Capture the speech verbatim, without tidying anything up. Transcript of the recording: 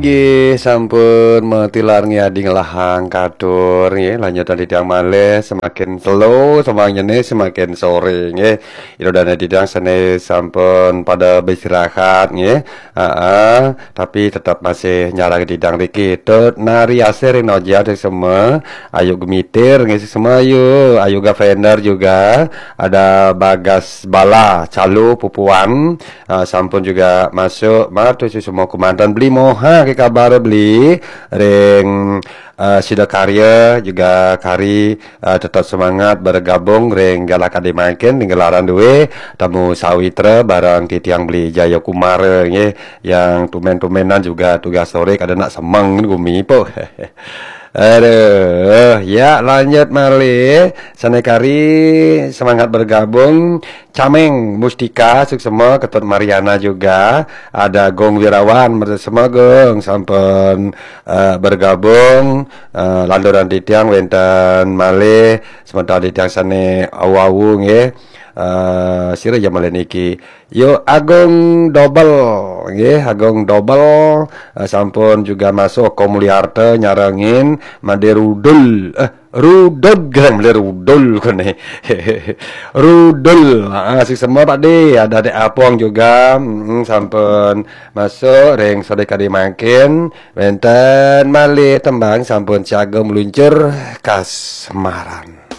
Nggih, sampun matilar nggih adi ngelahang katur nggih, lanjutan titiang malih semakin telu, semakin nyeni semakin sore nggih. Ida dané titiang sané sampun pada beristirahat nggih. Heeh, tapi tetap masih nyarang titiang riki. Tut Nari Asih ring Noja semua, Ayu Gemitir nggih semua Ayu, Ayu Gavender juga, ada Bagas Bala, Calu Pupuan, ah, sampun juga masuk, matur suksma kumanten Beli Moha, ké kabar Beli, ring, ah, Sidakarya juga kari, ah, tetap semangat bergabung ring galah kadé mangkin, ring gelaran dué, Temu Sawitra bareng titiang Beli Jaya Kumara nggih, yang tumen-tumenan juga tugas sore kada nak semeng gumi po. Aduh, ya lanjut malih. Sané kari semangat bergabung. Cameng Mustika, suksma, Ketut Mariana juga. Ada Gong Wirawan, matur suksma Gong, sampun, eh, bergabung. Eh, landuran titiang wénten malih, semeton titiang sané awu-awu nggih. Eh, sira ya malih niki. Yo Agung Dobel nggih, Agung Dobel, eh, sampun juga masuk Komuliarta nyarengin Made Rudul. Eh, Rudul, gerang Made Rudul kene. Rudul. Ah, suksma Pak De, ada Dek Apong juga, mm, sampun masuk ring sore kadi mangkin. Wénten malih tembang sampun siaga meluncur kasmaran.